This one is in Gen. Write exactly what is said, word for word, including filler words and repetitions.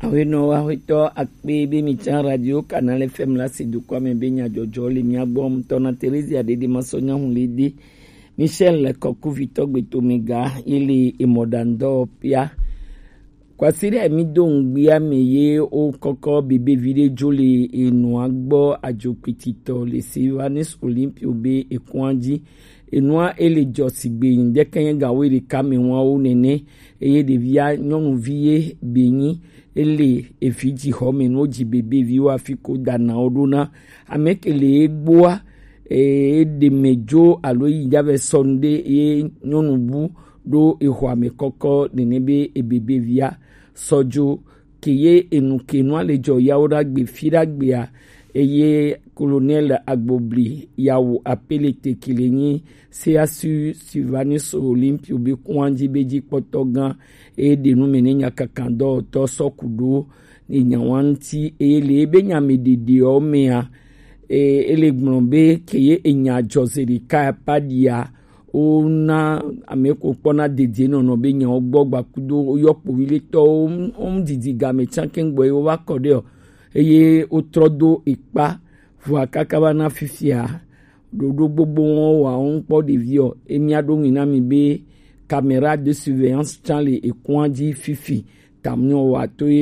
Awenɔ wa hwetɔ akpe be mi can Radio Canal F M la si dukɔa me be nyadzɔdzɔ le mia gbɔ. Ŋutɔ na Theresia Dede Masɔ Nyahun le de. Michel Kɔkuvitɔ Gbetomega ye le emɔɖaŋdɔ pia. Kwasiɖa mi do ŋgbia me ye wo kɔkɔ bebevi ɖe dzo le enua gbɔ adzokpititɔ le Sylvanus Olympio be ekɔa dzi. Enua ele dzɔ sigbe ŋdɛkɛnyɛ ga wo ɖeka me ŋua wo nene. Eye ɖevia nyɔnuvi ye be nyi ele evi dzi xɔ me no dzi bebevi wa fi ko dana wo ɖo na. Ame ke le egboa, e ɖe me dzo alo yi dza vɛ sɔ nu ɖe ye nyɔnu bu ɖo exɔa me kɔkɔ nene be ebebevia sɔ dzo ke ye enu ke nua le dzɔ yawo ɖagbe fi ɖagbea. Eye Colonel Agbobli yawo apele te ke le nyi C A S U Sylvanus Olympio be kɔa dzi be dzi kpɔtɔ gã eye ɖe nu me ne nyakakandɔwɔtɔ sɔ ku ɖo ne nyawa ŋuti eye le ebe nya me ɖeɖeɔ mea, e, ele gblɔ be ke ye enya dzɔ ze ɖeka paɖia wona ame ko kpɔna dedie nɔnɔ be nyawo gbɔ gbakudo woyɔ kpoviletɔwo wo didi game tsanke gbɔ ye wova kɔ ɖe o eye wotrɔ do ekpa vɔa kaka va na fifia ɖoɖo gbogbo wɔn wa wo ŋkpɔ ɖevi o. Emia ɖo ŋui na mi be caméra de surveillance tsan le ekɔa dzi fifi. Tamnɔ wa to ye